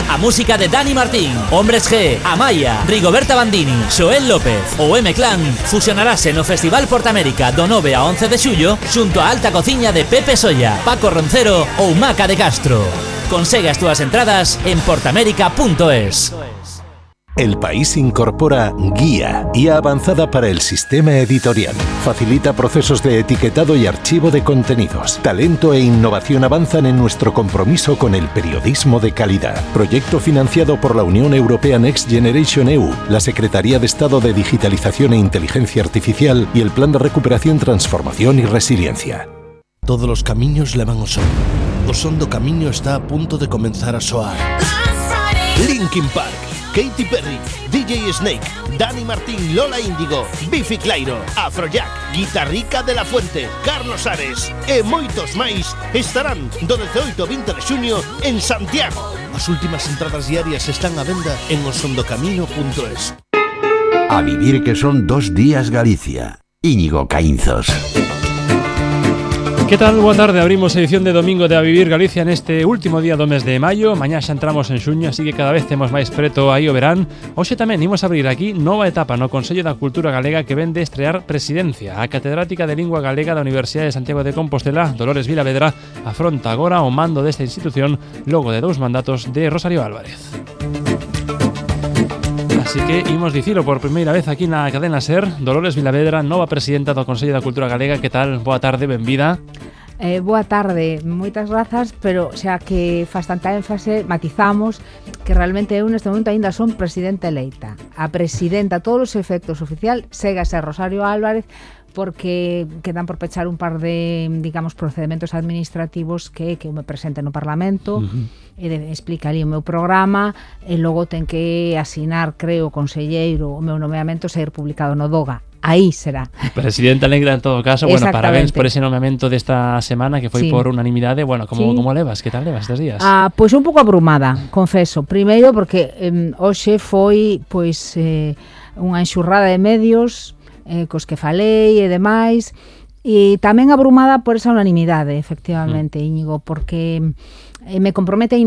A música de Dani Martín, Hombres G, Amaya, Rigoberta Bandini, Xoel López ou M-Clan fusionarase no Festival Portamérica do 9 a 11 de xullo xunto a alta cociña de Pepe Solla, Paco Roncero ou Maca de Castro. Consegue as túas entradas en portamérica.es. El País incorpora Guía avanzada para el sistema editorial. Facilita procesos de etiquetado y archivo de contenidos. Talento e innovación avanzan en nuestro compromiso con el periodismo de calidad. Proyecto financiado por la Unión Europea Next Generation EU, la Secretaría de Estado de Digitalización e Inteligencia Artificial y el Plan de Recuperación, Transformación y Resiliencia. Todos los camiños levan ao son. O son do camiño está a punto de comenzar a soar. Linkin Park, Katy Perry, DJ Snake, Dani Martín, Lola Índigo, Bifi Clyro, Afrojack, Guitarrica de la Fuente, Carlos Ares e moitos máis estarán do 18 ao 20 de xuño en Santiago. As últimas entradas diarias están á venda en osondocamino.es. A vivir que son 2 días Galicia. Íñigo Caínzos. Que tal? Boa tarde, abrimos edición de domingo de A Vivir Galicia neste último día do mes de maio. Mañá xa entramos en xuño, así que cada vez temos máis preto aí o verán. Hoxe tamén imos abrir aquí nova etapa no Consello da Cultura Galega que ven de estrear presidencia. A catedrática de Lingua Galega da Universidade de Santiago de Compostela, Dolores Vilavedra, afronta agora o mando desta institución logo de 2 mandatos de Rosario Álvarez. Así que imos dicilo por primeira vez aquí na cadena SER. Dolores Vilavedra, nova presidenta do Consello da Cultura Galega. Que tal? Boa tarde, benvida. Boa tarde, moitas grazas, pero xa que faz tanta énfase, matizamos que realmente eu neste momento aínda son presidenta eleita. A presidenta, a todos os efectos oficial, segue a ser Rosario Álvarez, porque quedan por pechar un par de, digamos, procedementos administrativos que eu me presente no Parlamento, e explica ali o meu programa, e logo ten que asinar, creo, o conselleiro, o meu nomeamento ser publicado no DOGA. Aí será. Presidenta negra en todo caso. Bueno, parabéns por ese nomeamento desta semana que foi por unanimidade. Bueno, como levas? Que tal levas estes días? Pois un pouco abrumada, confeso. Primeiro porque hoxe foi unha enxurrada de medios cos que falei e demais, e tamén abrumada por esa unanimidade, efectivamente, Íñigo, porque me compromete